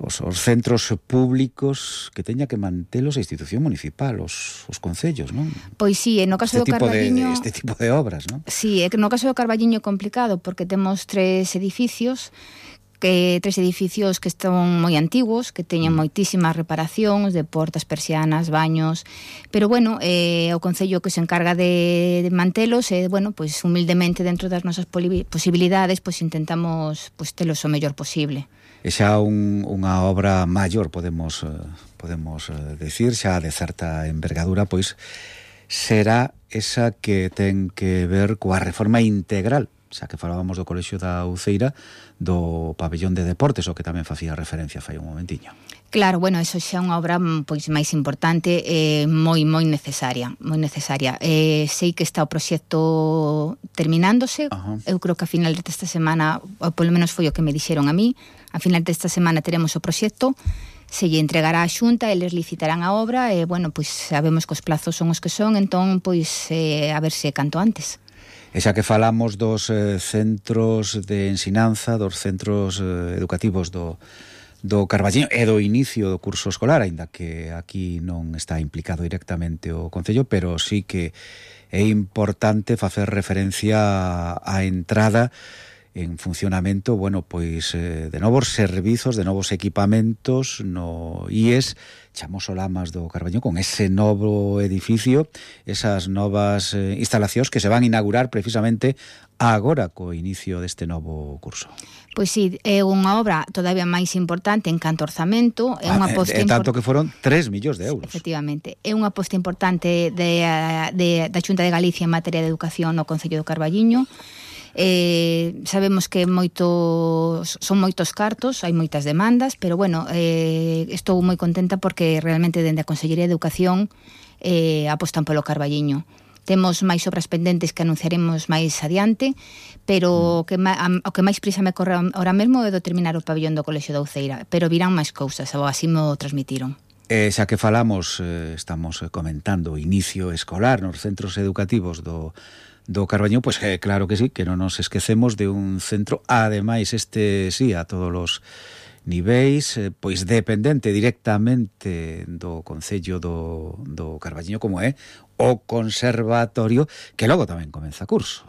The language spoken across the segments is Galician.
os centros públicos que teña que mantelos a institución municipal, os concellos, non? Pois sí, no caso do Carballiño... Este tipo de obras, non? Sí, no caso do Carballiño é complicado porque temos tres edificios que están moi antigos, que teñen moitísimas reparacións de portas, persianas, baños, pero bueno, o Concello que se encarga de mantelos, bueno, pois humildemente dentro das nosas posibilidades, pois intentamos pois telos o mellor posible. E xa unha obra maior, podemos decir, xa de certa envergadura, pois será esa que ten que ver coa reforma integral, xa que falábamos do Colexio da Uceira, do pabellón de deportes, o que tamén facía referencia fai un momentiño. Claro, bueno, eso xa é unha obra pois máis importante, moi necesaria, sei que está o proxecto terminándose. Eu creo que a final desta semana, ou polo menos foi o que me dixeron a mí, a final desta semana teremos o proxecto, se lle entregará a Xunta, eles licitarán a obra, e bueno, pois sabemos que os plazos son os que son, entón pois a ver se canto antes. E xa que falamos dos centros de ensinanza, dos centros educativos do Carballiño e do inicio do curso escolar, aínda que aquí non está implicado directamente o Concello, pero sí que é importante facer referencia á entrada en funcionamento, bueno, pois de novos servizos, de novos equipamentos no IES Chamos Lamas do Carballiño, con ese novo edificio, esas novas instalacións que se van a inaugurar precisamente agora co inicio deste novo curso. Pois sí, é unha obra todavía máis importante en canto orzamento, é unha aposta tanto que foron 3 millóns de euros. Efectivamente, é unha aposta importante da Xunta de Galicia en materia de educación no Concello do Carballiño. Sabemos que son moitos cartos, hai moitas demandas, pero bueno, estou moi contenta porque realmente dende a Consellería de Educación apostan polo Carballiño. Temos máis obras pendentes que anunciaremos máis adiante, pero o que máis prisa me corre ahora mesmo é determinar o pabellón do Colexio da Uceira, pero virán máis cousas, ou así mo transmitiron. Xa que falamos, estamos comentando o inicio escolar nos centros educativos do Carballiño, pois claro que sí, que non nos esquecemos de un centro, ademais sí, a todos os niveis, pois dependente directamente do Concello do Carballiño, como é o Conservatorio, que logo tamén comeza curso,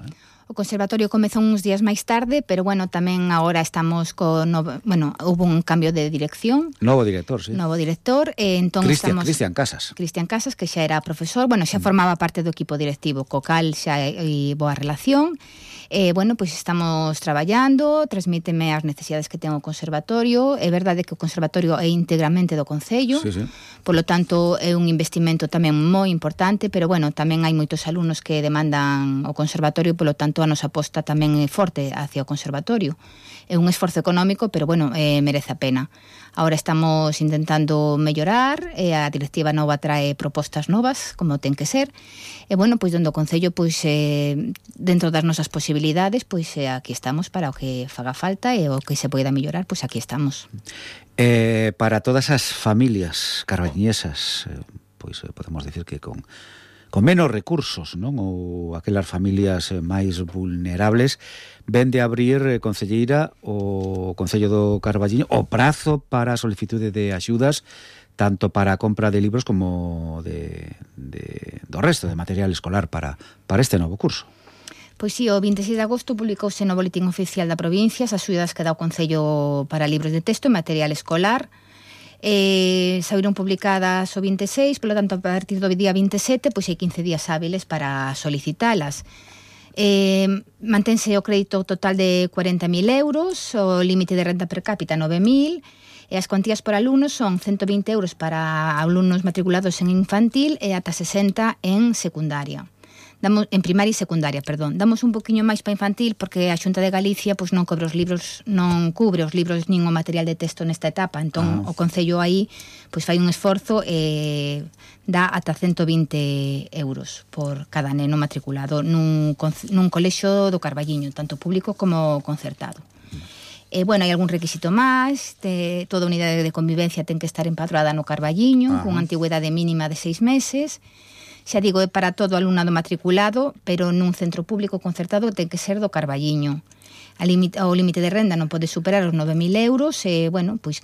O Conservatorio comezou uns días máis tarde, pero bueno, tamén agora estamos hubo un cambio de dirección. Novo director, sí. Novo director, entón Cristian Casas. Cristian Casas, que xa era profesor, xa formaba parte do equipo directivo, co cal xa hai boa relación. Bueno, pois estamos traballando, transmíteme as necesidades que ten o Conservatorio. É verdade que o Conservatorio é íntegramente do Concello, sí. Polo tanto é un investimento tamén moi importante, pero bueno, tamén hai moitos alumnos que demandan o Conservatorio, polo tanto a nosa aposta tamén é forte hacia o Conservatorio. É un esforzo económico, pero bueno, merece a pena. Ahora estamos intentando mellorar, a directiva nova trae propostas novas, como ten que ser, e bueno, pois dentro do Concello, pois dentro das nosas posibilidades, pois aquí estamos para o que faga falta e o que se poida mellorar, pois aquí estamos. Para todas as familias carballiñesas, pois podemos decir que con menos recursos, non? Ou aquelas familias máis vulnerables, ven de abrir, concelleira, o Concello do Carballiño o prazo para a solicitude de axudas, tanto para a compra de libros como do resto de material escolar para este novo curso. Pois sí, o 26 de agosto publicouse no Boletín Oficial da Provincia as axudas que dá o Concello para libros de texto e material escolar. Saíron publicadas o 26, polo tanto a partir do día 27 pois hai 15 días hábiles para solicitalas. Mantense o crédito total de 40.000 euros, o límite de renta per cápita 9.000, e as cuantías por alumnos son 120 euros para alumnos matriculados en infantil e ata 60 en secundaria. En primaria e secundaria, perdón. Damos un poquinho máis para infantil porque a Xunta de Galicia pois non cubre os libros nin o material de texto nesta etapa, entón o Concello aí pois fai un esforzo e dá ata 120 euros por cada neno matriculado nun colexio do Carballiño, tanto público como concertado. Bueno, hai algún requisito máis, toda unidade de convivencia ten que estar empadroada no Carballiño, con antigüedade mínima de 6 meses. Xa digo, é para todo alumnado matriculado, pero nun centro público concertado ten que ser do Carballiño. O límite de renda non pode superar os 9.000 euros e, bueno, pois